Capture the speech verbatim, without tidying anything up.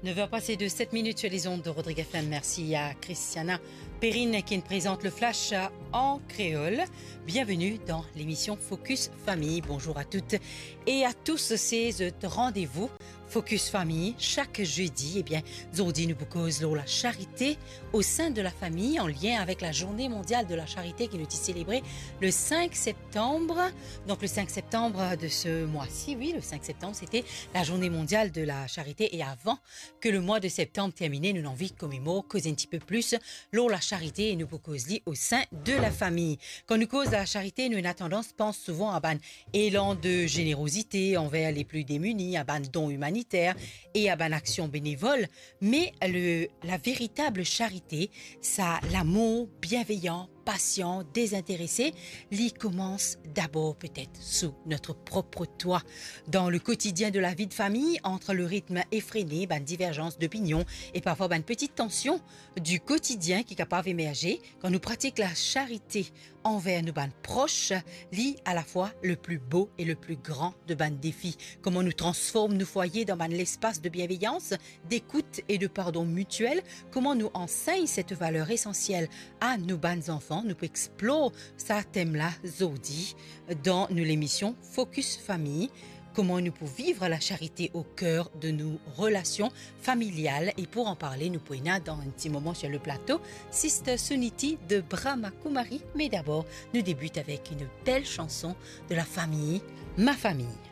Neuf heures passées de sept minutes sur les ondes de Rodrigue F M. Merci à Christiana Perrine qui nous présente le flash en créole. Bienvenue dans l'émission Focus Famille. Bonjour à toutes et à tous. C'est ce rendez-vous Focus Famille chaque jeudi. Eh bien, zordi nou pou koz lor la charité au sein de la famille en lien avec la journée mondiale de la charité qui nous est célébrée le cinq septembre. Donc le cinq septembre de ce mois-ci, oui, le cinq septembre, c'était la journée mondiale de la charité. Et avant que le mois de septembre termine, nou anvi komemorer, koz un petit peu plus lor la charité e nou pou koz li au sein de la famille. Kan nou koz la charité, nou ena tandans pans souvan a bann élan de générosité envers les plus démunis, a bann don humanitaire e a bann aksion bénévol. Mais le, la véritable charité, sa lamour bienveillant, patient, désintéressé, li koumans d'abord peut-être sous notre propre toit. Dans le quotidien de la vie de famille, entre le rythme effréné, bann divergence d'opinion e parfwa bann petit tension du quotidien ki kapav emerze, kan nou pratik la charité enver nou bann pros, li alafwa le pli bo e le pli gran de bann defi. Kouma nou transform nou fwaye dan bann lespas de bienveyans, dekout e de pardon mitiel, kouma nou ansegn set valer esansiel a nou bann zanfan, nou pou explor sa tem la zordi dan nou lemision Focus Famille. Kouma nou pou viv la charité au cœur de nos relations familiales. Et pour en parler, nou pou ena dan un petit moment sur le plateau Sister Suniti de Brahma Kumari. Mais d'abord, nou debit avek une belle chanson de la famille, Ma Famille.